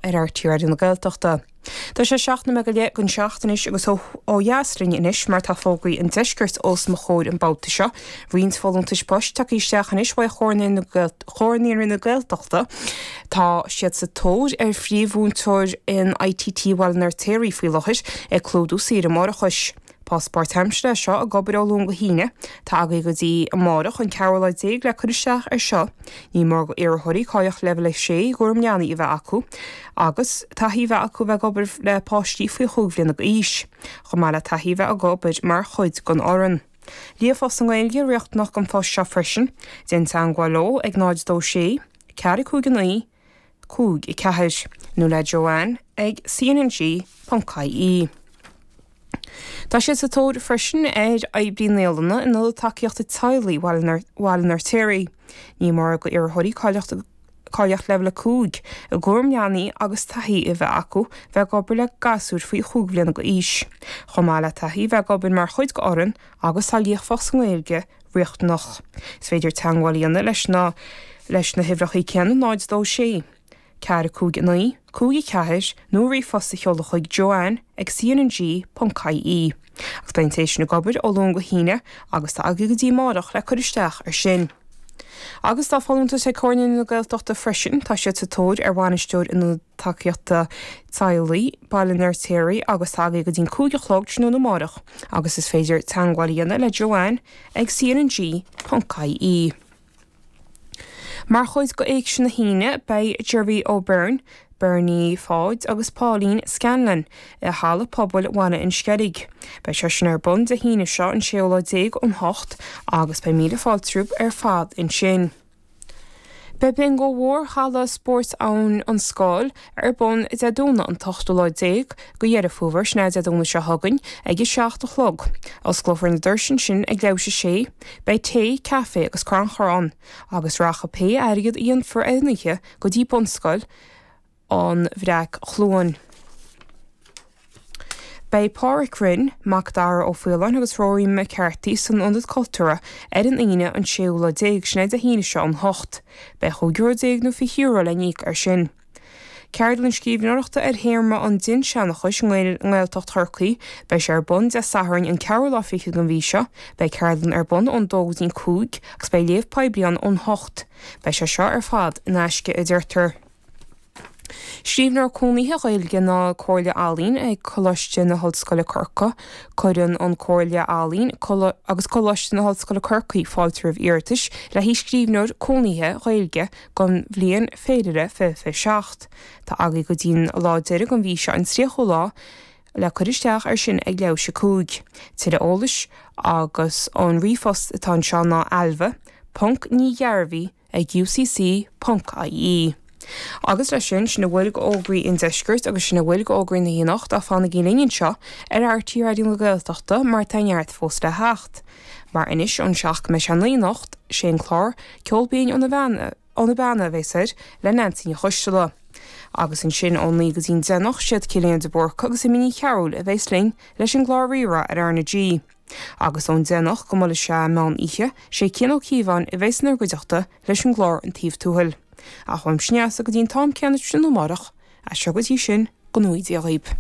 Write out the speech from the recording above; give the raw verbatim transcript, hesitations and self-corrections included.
ar R T Raidió na Gaeltachta. Tá sé seacht nóiméad go leith don seacht anois agus ó dheas linn anois mar tá fógraí an deiscirt os mo chomhair an babhta seo. Roinnt folúntais poist tagtha isteach anois ó Chomhar Naíonraí na Gaeltachta. Tá siad sa tóir ar phríomh-mhúinteoir in I T T Bhaile an Fheirtéaraigh faoi láthair ag clúdú saoire máithreachais. Post páirtaimseartha seo ag obair ó Luan go hAoine. Tá agaibh go dtí amárach an ceathrú lá déag le cur isteach ar seo. Ní mór d'iarrthóirí cáilíocht leibhéal a sé i gcúram leanaí a bheith acu, agus taithí bheith acu bheith ag obair le páistí faoi chúig bhliana d'aois. Chomh maith le taithí bheith ag obair mar chuid den fhoireann. Líofacht sa nGaeilge riachtanach don phost seo freisin, déan teagmháil leo ag náid dó sé, ceathair cúig naoi, cúig i ceathair, nó le Joanne ag C N G ponc I E. Tá siad sa tóir freisin ar oibrí naíolainne in ionad tacaíochta teaghlaigh Bhaile an Fheirtéaraigh. Ní mór d'iarrthóirí cáilíocht cáilíocht leibhéal a cúig i gcúram leanaí agus taithí a bheith acu bheith ag obair le gasúir faoi chúig bhliana d'aois. Chomh maith le taithí bheith ag obair mar chuid d'fhoireann agus tá líofacht sa nGaeilge riachtanach. Is féidir teagmháil a dhéanamh leis na leis na huimhreacha céanna náid dó sé. Ceathair cúig naoi, cúig ceathair nó ríomhphost a sheoladh chuig Joanne ag C N G ponc I E. Agus beidh sé sin ag obair ó Luan go hAoine agus tá agaibh go dtí amárach le cur isteach ar sin. Agus tá folúntas ag Comhar na Gaeltachta freisin, tá siad sa tóir ar bhainisteoir ionad tacaíochta teaghlaigh Baile an Fheirtéaraigh agus tá agaibh go dtí cúig a chlog tráthnóna amárach agus is féidir teagmháil a dhéanamh le Joanne ag C N G ponc I E. Mar chuid d'Éigse na hAoine beidh Jerry O'Byrne, Bernie Pháid agus Pauline Scanlon i halla pobail Bhaile an Sceilg. Beidh sé sin ar bun Dé hAoine seo an séú lá déag ón hocht agus beidh míle fáilte romhaibh ar fad ansin. Beidh bingo mhór halla spóirt ann an Scáil ar bun Dé Domhnaigh an t-ochtú lá déag de Dheireadh Fómhair, sin Dé Domhnaigh seo chugainn ag a seacht a chlog. Osclófar na doirse sin ag leathuair tar éis a sé, beidh tae, caife agus crannchur ann, agus rachaidh pé airgead a dhéanfar ar an oíche go dtí bunscoil an Bhreac-Chluain. Beidh Pádraig Rinn, Mac Dara Ó Faoláin agus Rory McCarthy san Ionad Cultúrtha ar an Aoine an séú lá déag, sin Dé hAoine seo ón hocht. Beidh chúig euro déag nó fiche euro le n-íoc ar sin. Ceardlann scríbhneoireachta ar théama an dinnseanchais i nGaeltacht Chorcaí, beidh sé ar bun Dé Sathairn an ceathrú lá fichead den mhí seo, beidh ceardlann ar bun ón dó go dtí cúig agus beidh léamh poiblí ann ón hocht. Beidh sé seo ar fad in aisce a deirtear. Scríbhneoir cónaithe Gaeilge na Comhairle Ealaíon ag Coláiste na hOllscoile Corcaigh, cuireann an Comhairle Ealaíon agus Coláiste na hOllscoile Corcaigh fáilte roimh iarratais le haghaidh scríbhneoir cónaithe Gaeilge don bhliain féilire fiche seacht. Tá agaibh go dtí'n lá deiridh den mhí seo an tríochú lá le cur isteach ar sin ag leathuair tar éis a cúig. Tuilleadh eolais agus an ríomhphost atá anseo ná ailbhe, ponc ní dhearbhaí ag U C C ponc I E. Agus leis sin sin a bhfuil d'fhógraí an deiscirt agus sin a bhfuil d'fhógraí na hAoine ach fanaigí linn anseo ar R T Raidió na Gaeltachta mar tá neart fós le theacht. Mar anois ón seacht go mbeidh sé naoi anocht sé an clár Ceol Binn óna óna Beanna a bheas air le Nancy Ní Choisteala. Agus ansin ón naoi go dtí'n deich siad Cillian de Búrca agus Imní Chearúil a bheas linn leis an gclár Rí-Rá ar R na G. Agus ón deich go mbeidh sé meán oíche sé Cian Ó Cíobháin a bheas inár gcuideachta leis an gclár An Taobh Tuathail. Ach uaimse go dtí'n t-am céanna sin amárach, as seo go dtí sin go ngnóthaí Dia dhaoibh.